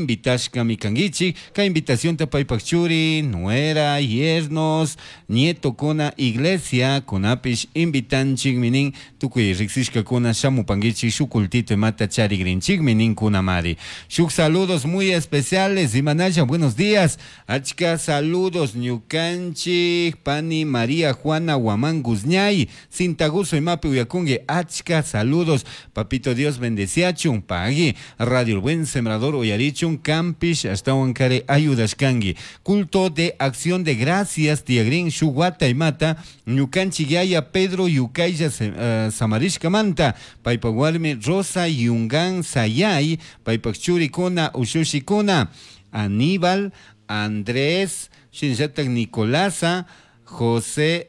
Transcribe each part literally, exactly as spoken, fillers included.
Invitashkami kankichik kay invitacionta paypak churi, nuera, yernos, nietokuna, iglesia kunapish invitanchikmi nin tukuy riksishkakuna shamupankichik shuk cultito imata charigrinchikmi ninkunamari. Shuk saludos muy especiales, imanalla, buenos días, achka saludos ñukanchik pani María Juana Guamán Guzñay, Cintaguso imapi uyakunki, achka saludos, papito Dios bendeciachun, pagui, Radio El Buen Sembrador uyarichun, kampish ashtawan kari ayudashkanki. Culto de acción de gracias tiyagrin shuk wata imata ñukanchik yaya Pedro Yukaylla uh, samarishkamanta paypak warmi Rosa Yungan Sayay paypak churikuna ushushikuna Aníbal Andrés shinallatak Nicolasa José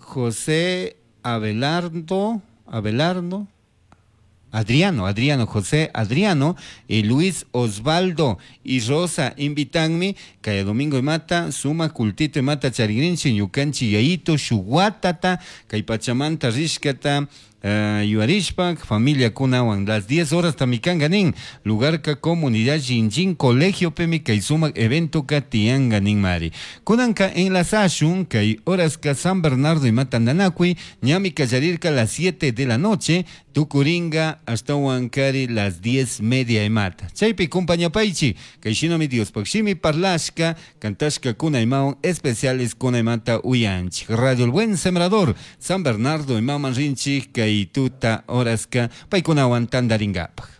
José Abelardo Abelardo Adriano, Adriano, José Adriano, y Luis Osvaldo y Rosa invitanmi, kay domingo imata, suma cultito imata charigrinchi, ñukanchi yayito, shuwatata, kay pachamanta rishkata, uh, yuarishpak, familia kunawan, las diez horas tamikanga nin, lugarka comunidad Jinjin colegio pemi kay sumak evento ka tianga nin mari. Kunanka enlazashun, kay horaska San Bernardo imata nanakui, ñami kallarirka las siete de la noche, tukuringa hasta Huancari las diez media imata. Chaypi kumpañapaychi, kay shinami Diospaj shimi parlashka, kantashka kuna imawan especiales kuna imata uyanchik. Radio El Buen Sembrador, San Bernardo imaman rinchik, kay tuta horaska paykunawan tantaringapaj.